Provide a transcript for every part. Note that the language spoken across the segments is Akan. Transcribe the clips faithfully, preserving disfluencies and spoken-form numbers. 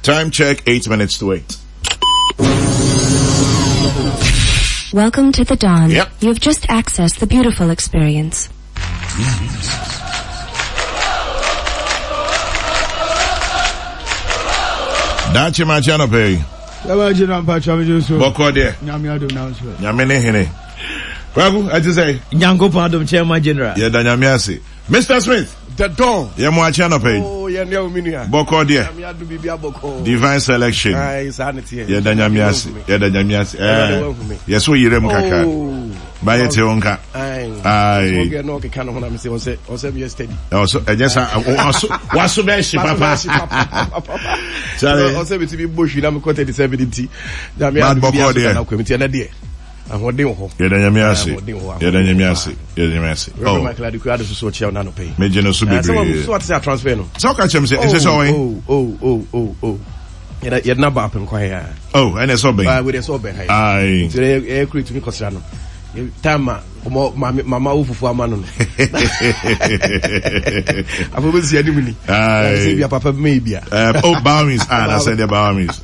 Time check, eight minutes to eight. Welcome to the dawn. Yep. You have just accessed the beautiful experience. Daakye makye anɔpa yi. Yɛbɛgye no mpakyɛ megye so. Bɔkɔ deɛ. Nyame adom na nso. Nyame ne hene. Kwaku, ɛte sɛ? Nyankopɔn adom Chairman General. Yɛda Nyame ase. Mister Smith. The Don. Yɛ mo akye anɔpa yi. Oh, yɛ nua omi nua. Bɔkɔ deɛ. Nyame adom biribi abɔkɔ. Divine selection. Ayi saa ne teɛ. Yɛda Nyame ase. Yɛda Nyame ase. Ɛɛ. Yɛ so yerɛ mu kakra. Oh. Ba yɛ te wo nka. Ayi. Ɔgɛ na ɔkeka ne ho na mi sɛ ɔsɛ ɔsɛ mi yɛ steady. Ɔsɔ ɛnyɛ sa waso waso bɛ hye papa. Sáré. Ɔsɛ mi ti mi bɔ hwi na mi kɔ thirty seven nti. Nyame adom biribi aso na kɔ mi ti ɛnɛ deɛ. Ahoɔden wɔ hɔ. Yɛda Nyame ase. Yɛda Nyame ase. Yɛda Nyame ase. Reverend Michael Adekua Ado soso ɔkyia ɔna anɔpɛ yi. Megye no so bebree. Sɛ wate sɛ transfer no. Sɛ ɔka kyerɛ me sɛ ɛsɛ sɛ ɔwɛn. Oh oh oh oh oh. Yɛda yɛde na ba apem kwan ya. Oh, ɛna ɛsɛ ɔbɛn. Ah, wei ɛsɛ ɔbɛn ha yi. Ayi. Nti ɛyɛ ɛyɛ kuro etumi kɔsra no. Time a ɔmɔ maame mama wo fufu ama no no. Afɔ bɛ si anim ni. Ayi. Sɛ bia papa bi mɛ bia. Oh, Bawmis. Ah, na sɛ deɛ Bawmis.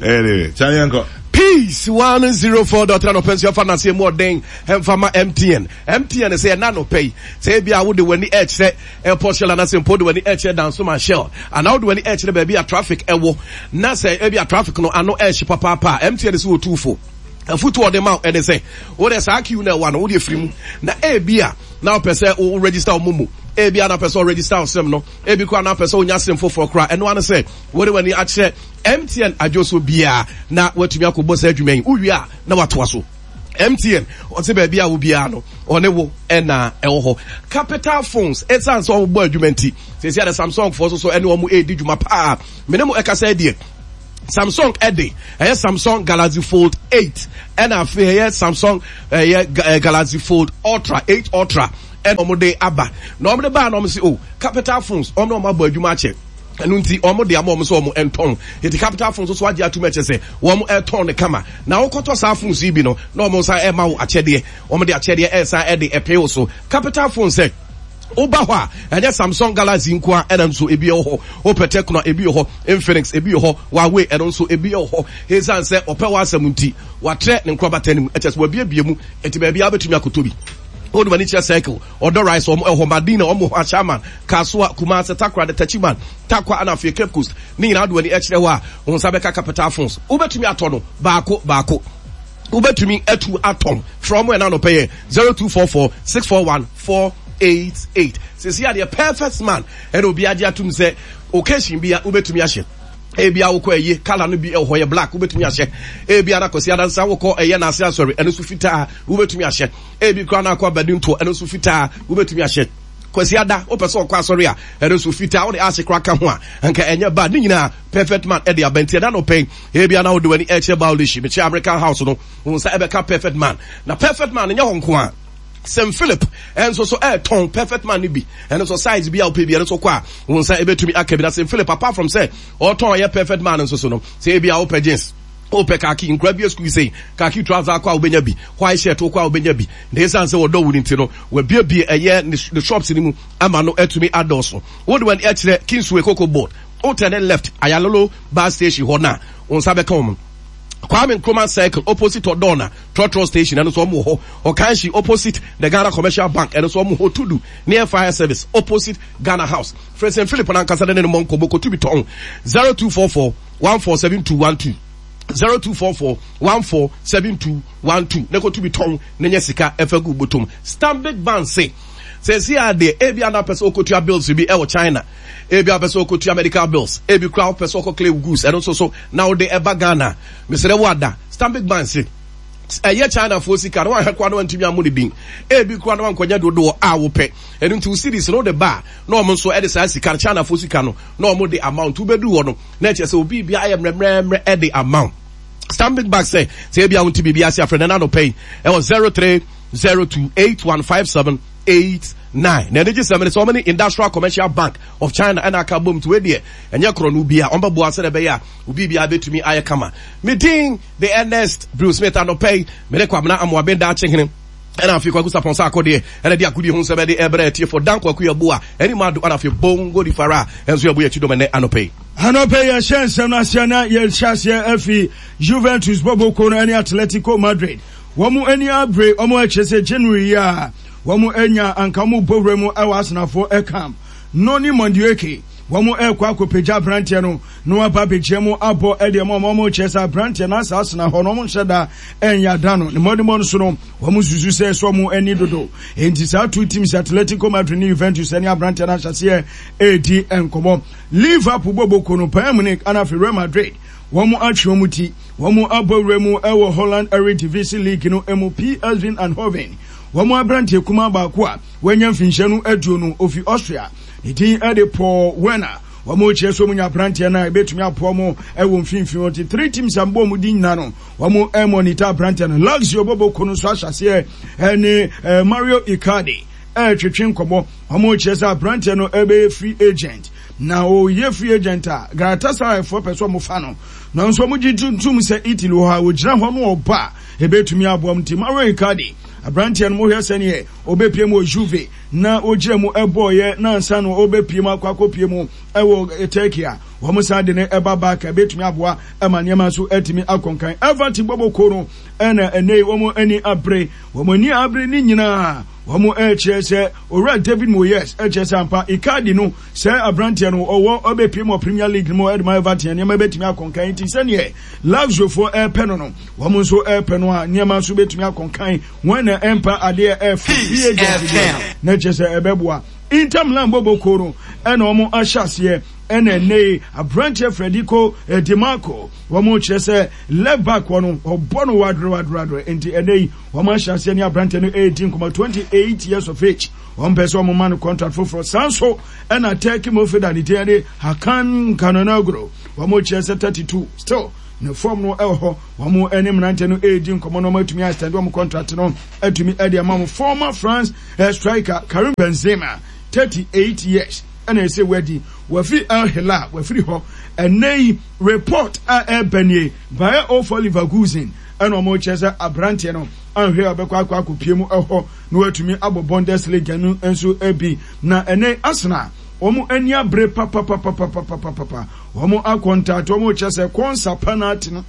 Anyway, kyale yɛn kɔ. Peace one zero four dot three anɔpɛ nso yɛfa n'aseɛ mu ɔden ɛmfa ma M T N. M T N sɛ ɛna anɔpɛ yi sɛ ebi a wode w'ani ɛkyerɛ airport shell anaasɛ mpo wode w'ani ɛkyerɛ Dansoman Shell anaa wode w'ani ɛkyerɛ baabi a traffic ɛwɔ na sɛ ebi a traffic no ano ɛhye papaapa a M T N sɛ wɔtu fo. Afutu ɔde ma ɛne sɛ wode saa queue na ɛwɔ no wode afiri mu na ebi a na wopɛ sɛ wo register wo momo ebi a na wopɛ sɛ wo register wo SIM no ebi koraa na wopɛ sɛ wonya SIM foforɔ koraa ɛno ano sɛ wode w'ani akyerɛ M T N adwo so biara na watumi akɔbɔ saa adwuma yi wowie a na watoa so. M T N ɔte baabi a wo biara no ɔne wo ɛna ɛwɔ hɔ. Capital Phones ɛsiane sɛ wɔbɔ adwuma nti seesei ade Samsung foɔ so so ɛne wɔn ɛredi dwuma paa mene mo ɛkasa deɛ Samsung ɛde ɛyɛ Samsung Galaxy Fold eight ɛna afei ɛyɛ Samsung ɛyɛ Galaxy Fold Ultra eight Ultra ɛna wɔn de aba na wɔn de ba na wɔn sɛ oh Capital Phones wɔn na wɔn abɔ adwuma akyɛ ɛno nti wɔn de ama wɔn sɛ wɔn ntɔn eti Capital Phones nso agye atum ɛkyɛ sɛ wɔn ɛtɔn ne kama na wɔkɔtɔ saa phones yi bi no na wɔn nsa ɛma wo akyɛdeɛ wɔn de akyɛdeɛ ɛsan ɛde ɛpɛ wo so Capital Phones sɛ woba hɔ a ɛnyɛ Samsung Galaxy nko a ɛna nso ebi wɔ hɔ wopɛ Tecno ebi wɔ hɔ Infinix ebi wɔ hɔ Huawei ɛno nso ebi wɔ hɔ esan sɛ ɔpɛ w'asɛm nti watrɛ ne nkorabata no mu ɛkyɛ sɛ wabiebie mu eti baabi a wobɛtumi akɔtɔ bi wode w'ani kyerɛ Circle Ɔdɔ Rice wɔn ɛhɔ Madina wɔn hɔ Ashaiman Kasoa Kumasi Takoradi Techiman Tarkwa ɛna afei Cape Coast ne nyinaa wode w'ani kyerɛ hɔ a wɔn nsa bɛka Capital Phones wobɛtumi atɔ no baako baako wobɛtumi atu atɔn frɛ wɔn ɛna anɔpɛ yɛ zero two four four six four one four eight eight sisi adeɛ perfect man ɛna obi agye atum sɛ occasion bi a wobɛtumi ahyɛ ebi a wokɔ ɛyɛ kala no bi ɛwɔ hɔ yɛ black wobɛtumi ahyɛ ebi a nakɔsi adansa wokɔ ɛyɛ n'ase asɔre ɛno nso fitaa wobɛtumi ahyɛ ebi kora na akɔ abadi ntoɔ ɛno nso fitaa wobɛtumi ahyɛ kwasi ada wopɛ sɛ ɔkɔ asɔre a ɛno nso fitaa wode ahye kora ka ho a anka ɛnyɛ ba ne nyinaa perfect man ɛde abɛnti ɛda no pɛn ebi a na wode w'ani ɛkyerɛ Baulishi mekyerɛ American house no wo nsa ɛbɛka perfect man na perfect man nyɛ hɔ nko a Saint Philip ɛnso so ɛtɔn perfect man no bi ɛno nso size bi a wopɛ bi ɛno nso kɔ a wo nsa ɛbɛtumi aka bi na Saint Philip apart from sɛ ɔtɔn ɛyɛ perfect man nso so no sɛ ebi a wopɛ jeans wopɛ kaki nkura bi school sei kaki trouser akɔ a wobɛnya bi white shirt wokɔ a wobɛnya bi na ɛsiane sɛ wɔdɔ wo no nti no wabiebie ɛyɛ ne shops no mu ama no atumi adɔɔso wode w'ani ɛkyerɛ Kingsway Cocoa Board wotɛne left Ayalolo bus station hɔ no a wo nsa bɛka wɔn Kwame Nkrumah Circle opposite Odona Trotro Station ɛno nso wɔn wɔ hɔ Okanshi opposite the Ghana Commercial Bank ɛno nso wɔn wɔ Tudu near Fire Service opposite Ghana House Frɛ Saint Philip nankasa ne ne mmɔ nkɔmmɔ kɔtu bi tɔn zero two four four one four seven two one two zero two four four one four seven two one two ne kɔtu bi tɔn ne nyɛ sika ɛfɛ gu botom Stanbic Bank se sɛ si adeɛ ebi ana pɛ sɛ ɔkɔtua bills bi ɛwɔ China ebi apɛ sɛ ɔkɔtua medical bills ebi kora wopɛ sɛ ɔkɔ clear goods ɛno nso so na wode ɛba Ghana mesrɛ wo ada Stanbic Bank se ɛyɛ China foɔ sika no wahwɛ koa no wantumi ammo ne din ebi koa no wankɔnya dodoɔ a wopɛ ɛno nti wo series no wode ba na ɔmo nso ɛde saa sika no China foɔ sika no na ɔmo de amount wobɛdu hɔ no na ɛkyerɛ sɛ obi bia ayɛ mmerɛmmerɛmmerɛ ɛde amount Stanbic Bank sɛ sɛ ebi a wonti biribi ase afrɛ no na anɔpɛ yi ɛwɔ zero three zero two eight one five seven eight nine na ɛno gye sɛ mene sɛ ɔmo ne Industrial Commercial Bank of China ɛna aka bom nti wei deɛ ɛnyɛ korɔ no bia ɔmo bɛboa sɛ ɛbɛyɛ a obi bia bɛtumi ayɛ kama me din the Ernest Bruce Smith anɔpɛ yi mene Kwabena Amoaben Daakye Hene ɛna afei Kwaku Sapon sa akɔdeɛ ɛna de agodie ho nsɛm ɛde ɛbrɛ atiefoɔ Dan Kwaku Yeboah ɛne Mado ɛna afei Bongo di Fara ɛnso yɛbɔ yɛkyi dɔm ɛnɛ anɔpɛ yi. Anɔpɛ yi yɛhyɛ nsɛm no aseɛ na yɛhyɛ aseɛ afi Juventus bɔbɔkuo no ɛne Atletico Madrid. Wɔn ani abere, wɔn akyerɛ sɛ January yi a wɔn anya anka wɔn bɔ wura mu ɛwɔ Arsenalfoɔ ɛcamp. Noni Madueke, wɔn ɛrekɔ akɔpagya aberanteɛ no na waba abɛgyina mu abɔ ɛdeɛ mu a wɔn kyerɛ sɛ aberanteɛ no asa Arsenal hɔ no wɔn nhyɛ da ɛnyɛ ada no ne mmɔdemmɔ no so no wɔn susu sɛ ɛsɔ wɔn ani dodo. Enti saa two teams Atletico Madrid ne Juventus ɛne aberanteɛ no ahyɛseɛ ɛredi nkɔmmɔ. Liverpool bɔbɔkuo no Bayern Munich ana afei Real Madrid wɔn atwe wɔn ti wɔn abɔ wura mu ɛwɔ Holland Eredivisie League no mu P S V Eindhoven wɔn aberanteɛ kumaa baako a wɔanya mfinhyia no aduonu ofi Austria ne din ɛde Paul Werner wɔn kyerɛ so wɔn nya aberanteɛ no a ebetumi aboa wɔn ɛwɔ mfimfini wɔn ti three teams a mbɔ wɔn din nyinaa no wɔn ɛmɔnita aberanteɛ no Lazio bɔbɔkuo no nso ahyɛ aseɛ ɛne Mario Icardi ɛretwetwe nkɔmɔ wɔn kyerɛ sɛ aberanteɛ no ɛbɛyɛ free agent na ɔyɛ free agent a Galatasaray foɔ pɛ sɛ wɔn fa no nanso wɔn gye tuntum sɛ Italy hɔ a wɔgyina hɔ no ɔba ebetumi aboa wɔn ti Mario Icardi aberanteɛ no mo hwɛ sɛneɛ ɔbɛpie mu wɔ Juve na ogyina mu ɛbɔɔyɛ na ansa no ɔbɛpie mu akɔ akɔpie mu ɛwɔ Turkey a wɔn san de ne ɛba back ebetumi aboa ɛma nneɛma nso ɛtumi akɔnkan Everton bɔbɔkuo no ɛna ɛnɛ yi wɔn ani abere wɔn ani abere ne nyinaa wɔn ɛkyerɛ sɛ owura David Moyes ɛkyerɛ sɛ ampa Icardi no sɛ aberanteɛ no ɔwɔ ɔbɛpie mu wɔ Premier League no mu ɛde ma Everton nneɛma ebetumi akɔnkan nti sɛneɛ Laziofoɔ ɛɛpɛ no no wɔn nso ɛɛpɛ no a nneɛma nso betumi akɔnkan wɔn na ɛmpa adeɛ ɛɛfo free agent deɛ na kyerɛ sɛ ɛbɛboa Inter Milan bɔbɔkuo no ɛna wɔn ahyɛ aseɛ ɛna ɛnɛ yi aberanteɛ Federico Di Marco wɔn kyerɛ sɛ left back wɔ no ɔbɔ no wadere wadere wadere nti ɛnɛ yi wɔn ahyɛ aseɛ ne aberanteɛ no ɛredi nkɔmɔ twenty eight years of age wɔn pɛ sɛ wɔn ma no contract foforɔ saa nso ɛna Turkey midfielder ne din de Hakan Calhanoglu wɔn kyerɛ sɛ thirty two still ne form no ɛwɔ hɔ wɔn ɛne mmeranteɛ no ɛredi nkɔmɔ na wɔn atumi extend wɔn contract no atumi ɛde ama wɔn former France striker Karim Benzema thirty eight years ɛna ɛsɛ wadi wafi El Hilal wafiri hɔ ɛnɛ yi report a ɛbɛ nie Bayer zero four Leverkusen ɛna wɔn kyerɛ sɛ aberanteɛ no anhwɛ a ɔbɛkɔ akɔ akɔpie mu ɛhɔ na watumi abɔ Bundesliga no nso bi na ɛnɛ Arsenal wɔn ani abere papapapapapapapa wɔn akɔntato wɔn kyerɛ sɛ kɔnsa penalty no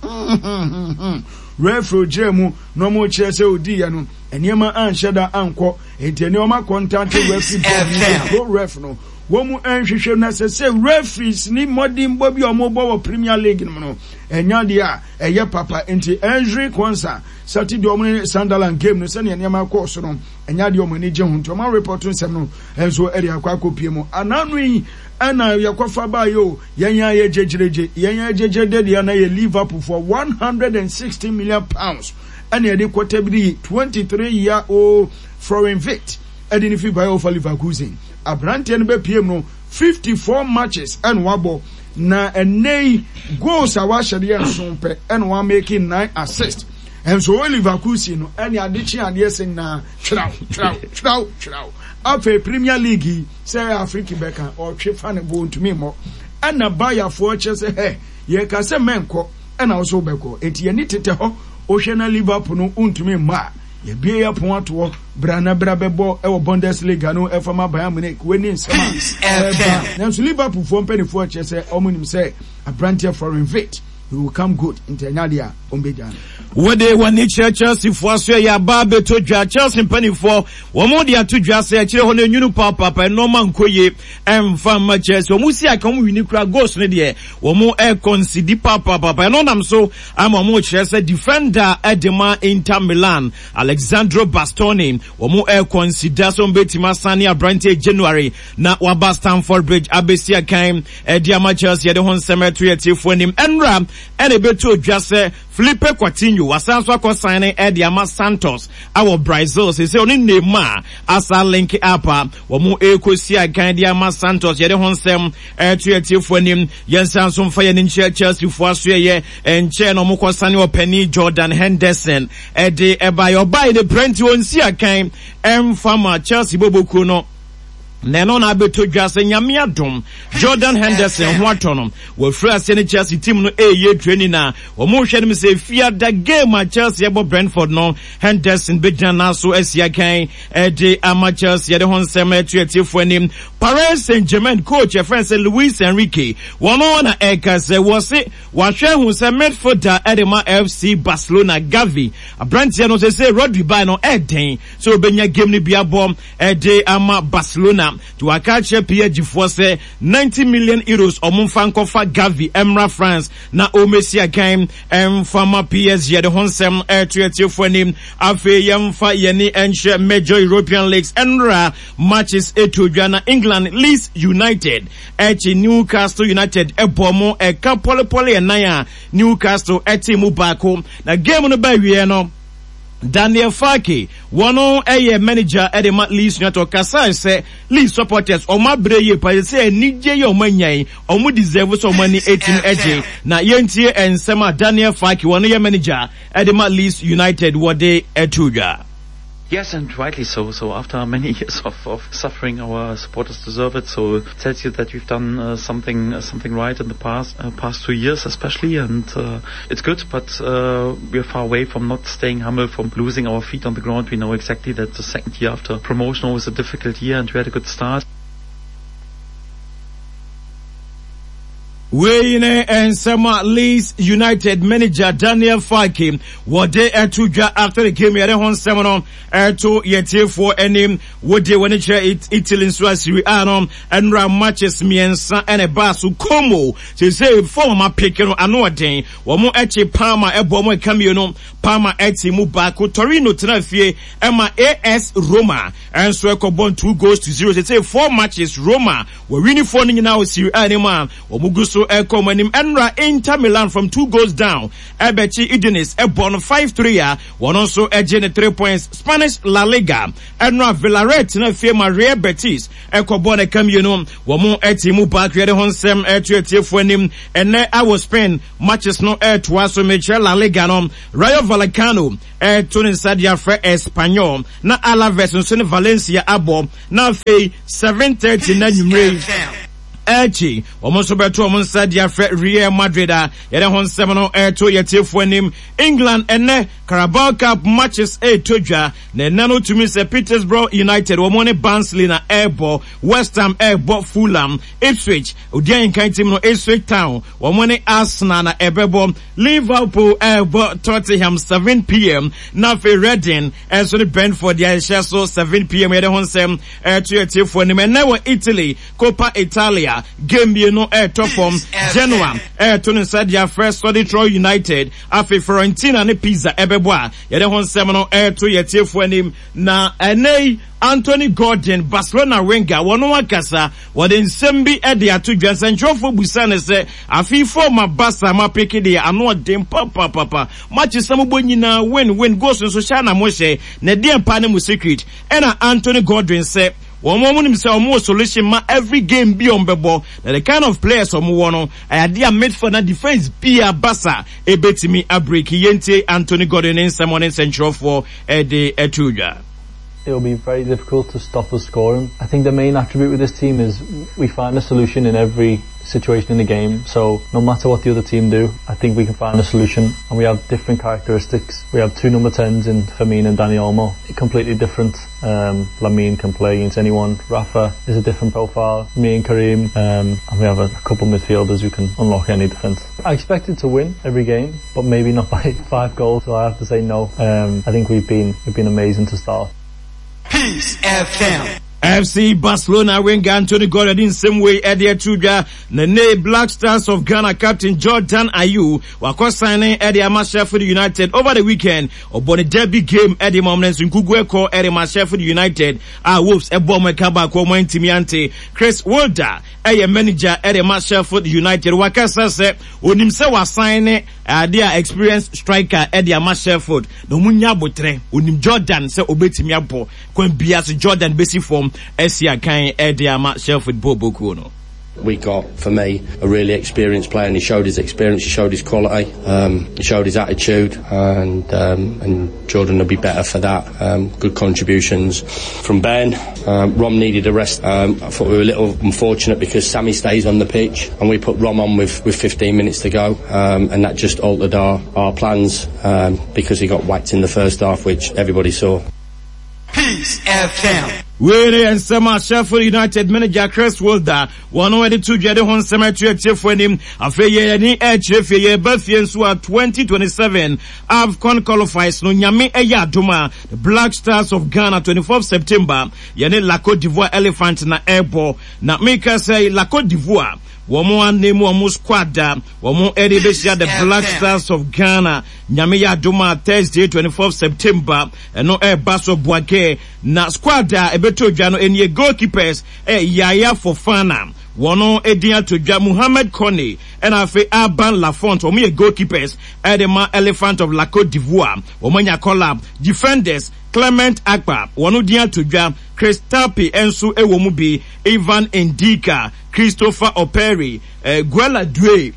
referee gyina mu na wɔn kyerɛ sɛ odi yɛ no nneɛma anhyɛ da ankɔ nti nneɛma akɔntato referee bɔ no ref no wɔn nhwehwɛ na sɛ sɛ referees ni mmɔdenbɔ bi a wɔn bɔ wɔ Premier League no mu no ɛnya deɛ a ɛyɛ papa nti Henry Kwanza Saturday wɔn ne Sunderland game no sɛnea nneɛma kɔɔ so no ɛnya deɛ wɔn ani gye ho nti wɔn report nsɛm no nso ɛde akɔ akɔpie mu ananu yi ɛna yɛkɔfa baayɛ o yɛn yɛn ayɛ gyegyeregye yɛn yɛn gyegye de deɛ na yɛ Liverpool for one hundred and sixty million pounds ɛna yɛde kɔtɛ bi de twenty three year old Florian Wirtz ɛde ne fi Bayer Leverkusen aberanteɛ no bɛpie mu no fifty four matches ɛna wabɔ na ɛnɛ yi goals a wahyɛ de yɛ nson pɛ ɛna wamake nine assists ɛnso wɔ Leverkusen no ɛne adekye adeɛ sɛ nyinaa tweraw tweraw tweraw tweraw afei Premier League yi sɛ Afrika bɛka ɔtwe fa ne bo ntumi mmɔ ɛna Bayerfoɔ kyerɛ sɛ hɛ yɛka sɛ mɛnkɔ ɛna wo bɛkɔ enti yɛni tetɛ hɔ wohwɛ na Liverpool no ntumi mmɔ a yɛbie yɛ pon atoɔ bra na bra bɛbɔ ɛwɔ Bundesliga no ɛfa ma Bayern Munich wani nsɛm a ɛba nanso Liverpool foɔ mpanimfoɔ kyerɛ sɛ ɔmo nim sɛ aberanteɛ Florian Wirtz he will come good nti ɛnya deɛ a ɔmbɛgya no. Wɔde wɔn kyerɛ Chelsea foɔ so yɛ aba abɛtɔ dwa Chelsea mpanimfoɔ wɔn de ato dwa sɛ akyerɛ hɔ no enwunu paapapa nneɛma nkɔ yie ɛmfa mma Chelsea wɔn si aka wɔn wini kura goals no deɛ wɔn ɛkɔnsidi paapapa ɛno nam so ama wɔn kyerɛ sɛ defender ɛde ma Inter Milan Alexandro Bastoni wɔn ɛkɔnsida sɛ wɔn bɛtumi asane aberanteɛ January na waba Stamford Bridge abɛsi akan ɛde ama Chelsea yɛde ho nsɛm ɛto yɛ tiefoɔ anim ɛnura ɛna ɛbɛto dwa sɛ Felipe Coutinho wasan so akɔ ɛde ama Santos awɔ Brazil sɛ sɛ ɔne Neymar asa link up a wɔn ɛkɔsi akan de ama Santos yɛde ho nsɛm ɛto yɛ tiefoɔ anim yɛnsan so mfa yɛn nkyerɛ Chelsea foɔ aso yɛ nkyɛn na wɔn kɔ sane ɔpanin Jordan Henderson ɛde ɛba yɛ ɔbaa yi de prɛnti wɔn si akan ɛmfa ma Chelsea bɔbɔkuo no Na ɛno na abɛtɔ dwa sɛ Nyame adom Jordan Henderson ho atɔ no, wafiri aseɛ ne Chelsea team no ɛreyɛ training na wɔn rehwɛ no sɛ fiada game a Chelsea ɛbɔ Brentford no, Henderson bɛgyina n'aso asi akan ɛde ama Chelsea. Yɛde ho nsɛm ɛto atiefoɔ anim. Paris Saint-Germain coach ɛfrɛ sɛ Luis Enrique, wɔn na ɛka sɛ wɔse wahwɛ hu sɛ midfielder ɛde ma F C Barcelona Gavi aberanteɛ no sɛ sɛ Rodri baa no ɛɛden sɛ obɛnya game no bi abɔ ɛde ama Barcelona, nti waka akyerɛ P S G foɔ sɛ ninety million euros ɔmo mfa nkɔfa Gavi ɛmmra France na ɔmmɛsi akan ɛmfa ma P S G. Yɛde ho nsɛm ɛto atiefoɔ anim. Afei yɛmfa yɛne ɛnhyɛ major European leagues. Ɛnra matches ɛto dwa na England, Leeds United ɛkyi Newcastle United ɛbɔ mo ɛka pɔlepɔle ɛnan a Newcastle ɛte mu baako. Na game no ba wie no, Daniel Farke, wɔn yɛ manager ɛde ma Leeds United, ɔkasa sɛ Leeds supporters ɔmo abere yie pa sɛ anigye yɛ ɔmo anya yi, ɔmo deserve sɛ ɔmo ani etim ɛgye. Na yɛntie nsɛm a Daniel Farke, wɔn yɛ manager ɛde ma Leeds United, wɔde ɛto dwa. Yes, and rightly so. So after many years of, of suffering, our supporters deserve it. So it tells you that we've done uh, something uh, something right in the past uh, past two years, especially, and uh, it's good. But uh, we're far away from not staying humble, from losing our feet on the ground. We know exactly that the second year after promotion was a difficult year, and we had a good start. Wei ne nsɛm a Leeds United manager Daniel Farke wɔde ɛto dwa after the game. Yɛde ho nsɛm no ɛto yɛtiefoɔ anim. Wode wɔne kyerɛ Italy nso a, Serie A no, ɛnora matches mmiɛnsa ɛna ɛbaa so. Como seesei form a pick no ano ɔden, wɔn akyi Parma ɛbɔ wɔn ɛka mmienu, Parma ɛte mu baako. Torino tena fie ɛma A S Roma ɛnso ɛkɔbɔ two goals to zero. Seesei four matches Roma wɔwinifoɔ no nyinaa wɔ Serie A no mu a wɔn gu so ɛkɔ wɔn anim. Ɛnora Inter Milan from two goals down ɛbɛkyi Udinese ɛbɔ no five three a wɔn nso ɛgye ne three points. Spanish La Liga, ɛnora Villarreal tena fie ma Real Betis ɛkɔbɔ ne ka mmienu, wɔn ɛte mu baako. Yɛde ho nsɛm ɛto atiefoɔ anim. Ɛnɛ awɔ Spain matches no ɛtoa so. Mekyerɛ La Liga no, Rayo Vallecano ɛto ne nsa de afrɛ Espanyol, na Alaves nso ne Valencia abɔ. Na afei seven thirty na nwumire Elche wɔn nso bɛto wɔn nsa de afrɛ Real Madrid a yɛde ho nsɛm no ɛreto yɛtiefoɔ anim. England, ɛnɛ Carabao Cup matches ɛretɔ dwa, na ɛnɛ no tumi sɛ Peterborough United wɔn ne Barnsley na ɛrebɔ, West Ham ɛrebɔ Fulham, Ipswich odi ahinkan team no Ipswich Town wɔn ne Arsenal na ɛbɛbɔ, Liverpool ɛrebɔ Tottenham seven p m, na afei Reading ɛnso ne Brentford deɛ ɛhyɛ so seven p m. Yɛde ho nsɛm ɛreto yɛtiefoɔ anim. Ɛnɛ wɔ Italy, Coppa Italia, game mmienu ɛretɔ fam. Genoa ɛreto ne nsa de afrɛ Sodetro United, afei Fiorentina ne Pisa ɛbɛbɔ a yɛde ho nsɛm no ɛreto yɛtiefoɔ anim. Na ɛnɛ yi Anthony Gordon, Barcelona winger, wɔn akasa, wɔde nsɛm bi de ato dwa. Nsɛntwerɛfoɔ busa ne sɛ afei form a Barca ma pick deɛ ano ɔden papapapa, matches na mobɔ nyinaa win win, goals nso hyɛ na mohyɛ, na ɛdeɛ mpa ne mu secret? Ɛna Anthony Gordon sɛ wɔn wɔn nim sɛ wɔn wɔ solution ma every game bi wɔn bɛbɔ, na the kind of players wɔn wɔ no ɛyɛ adeɛ a midfield na defence bia Barca ebetumi abreak. Yɛntie Anthony Gordon ne nsɛm ɔne nsɛntwerɛfoɔ ɛde ɛto dwa. It'll be very difficult to stop us scoring. I think the main attribute with this team is we find a solution in every situation in the game. So no matter what the other team do, I think we can find a solution. And we have different characteristics. We have two number tens in Fermin and Dani Olmo, completely different. Um, Lamine can play against anyone. Rafa is a different profile. Me and Karim, um, and we have a, a couple of midfielders who can unlock any defence. I expected to win every game, but maybe not by five goals. So I have to say no. Um, I think we've been we've been amazing to start. Peace F M. F C Barcelona winger Anthony Gordon nsɛm wei ɛde ato dwa. Na ne Black Stars of Ghana captain Jordan Ayew wakɔ sign ɛde ama Sheffield United. Over the weekend ɔbɔ ne derby game ɛde ma ɔmo nso nkugu ɛkɔ ɛde ma Sheffield United a Wolves ɛbɔ ɔmo ɛka baako, ɔmo ntumi ante. Chris Wilder ɛyɛ manager ɛde ma Sheffield United, wakasa sɛ onim sɛ wasan ne ade a experienced striker ɛde ama Sheffield na ɔmo nya abotrɛ. Onim Jordan sɛ obetumi abɔ kwan bia so, Jordan besi fam ɛsi akan ɛde ama Sheffield bɔ bokuo no. We got, for me, a really experienced player, and he showed his experience, he showed his quality, um, he showed his attitude, and um, and Jordan will be better for that. Um, good contributions from Ben. Um, Rom needed a rest. Um, I thought we were a little unfortunate because Sammy stays on the pitch, and we put Rom on with, with fifteen minutes to go, um, and that just altered our, our plans um, because he got whacked in the first half, which everybody saw. Peace F M. Wei ne nsɛm a Sheffield United manager Chris Wilder wɔn wɔde to dwa de ho nsɛm ato atiefoɔ anim. Afei yɛ yɛni ɛkyerɛ fie, yɛba fie nso a, twenty twenty-seven AFCON qualifiers no, Nyame ɛyɛ adom a, the Black Stars of Ghana, twenty-fourth September, yɛne La Cote d'Ivoire Elephant na ɛrebɔ. Na meka sɛ La Cote d'Ivoire wɔn anim wɔn squad a wɔn ɛde bɛhyia the Black Stars of Ghana, Nyame yɛ adom a, Thursday twenty-fourth September, ɛno ɛreba so Bouake. Na squad a ɛbɛtɔ dwa no ɛnie: goalkeepers ɛ Yaya Fofana, wɔn edin ato dwa, Muhammed Kone, ɛna afei Alban Lafont, wɔn yɛ goalkeepers ɛde ma Elephant of La Cote d'Ivoire. Wɔn anya collab defenders: Clement Akpa, wɔn din ato dwa, Chris Tape nso ɛwɔ mu bi, Ivan Ndika, Christopher Operi, eh, Guela Due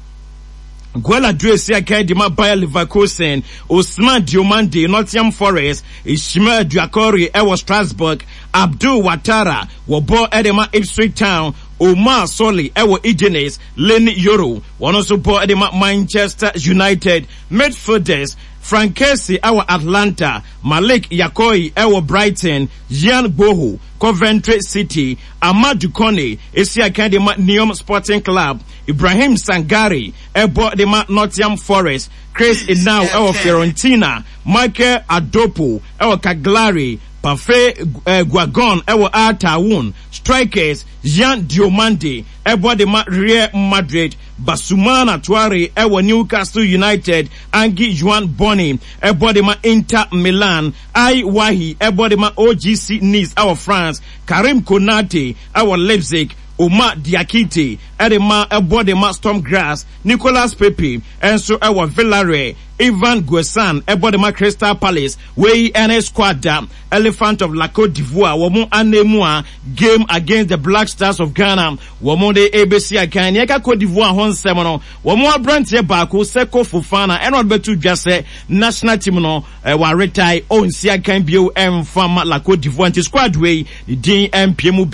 Guela Due si akan di ma Bayer Leverkusen, Osman Diomande, Nottingham Forest, Ishmael Doucoure ɛwɔ Strasbourg, Abdul Watara wɔbɔ ɛde ma Ipswich Town, Omar Soli ɛwɔ Udinese, Leny Yoro wɔn nso bɔ ɛde ma Manchester United. Midfielders: Franck Kessie ɛwɔ Atalanta, Malik Yakoi ɛwɔ Brighton, Yann Gboho, Coventry City, Amadou Kone esi akan de ma Neom Sporting Club, Ibrahim Sangare ɛbɔ de ma Nottingham Forest, Chris Inao ɛwɔ Fiorentina, Michael Adopo ɛwɔ Cagliari, Parfait eh, Guiagon ɛwɔ Al Taawoun. Strikers: Yan Diomande ɛbɔ de ma Real Madrid, Bassumana Traore ɛwɔ Newcastle United, Ange Juan Boni ɛbɔ de ma Inter Milan, Ai Wahi ɛbɔ de ma O G C Nice ɛwɔ France, Karim Konate ɛwɔ Leipzig, Omar Diakite ɛde ma ɛbɔ de ma Sturm Graz, Nicolas Pepe ɛnso ɛwɔ Villarreal, Ivan Guessand ɛbɔ de ma Crystal Palace. Wei ɛne squad da Elephant of La Cote d'Ivoire wɔn anemu a game against the Black Stars of Ghana wɔn de ebesi akan. Nea ɛka Cote d'Ivoire ho nsɛm no, wɔn aberanteɛ baako, Seko Fofana, ɛna ɔde bɛto dwa sɛ national team no ɛwɔ aretae, ɔnsi akan bio ɛnfa ma La Cote d'Ivoire, nti squad wei ne din ɛmpie mu bi.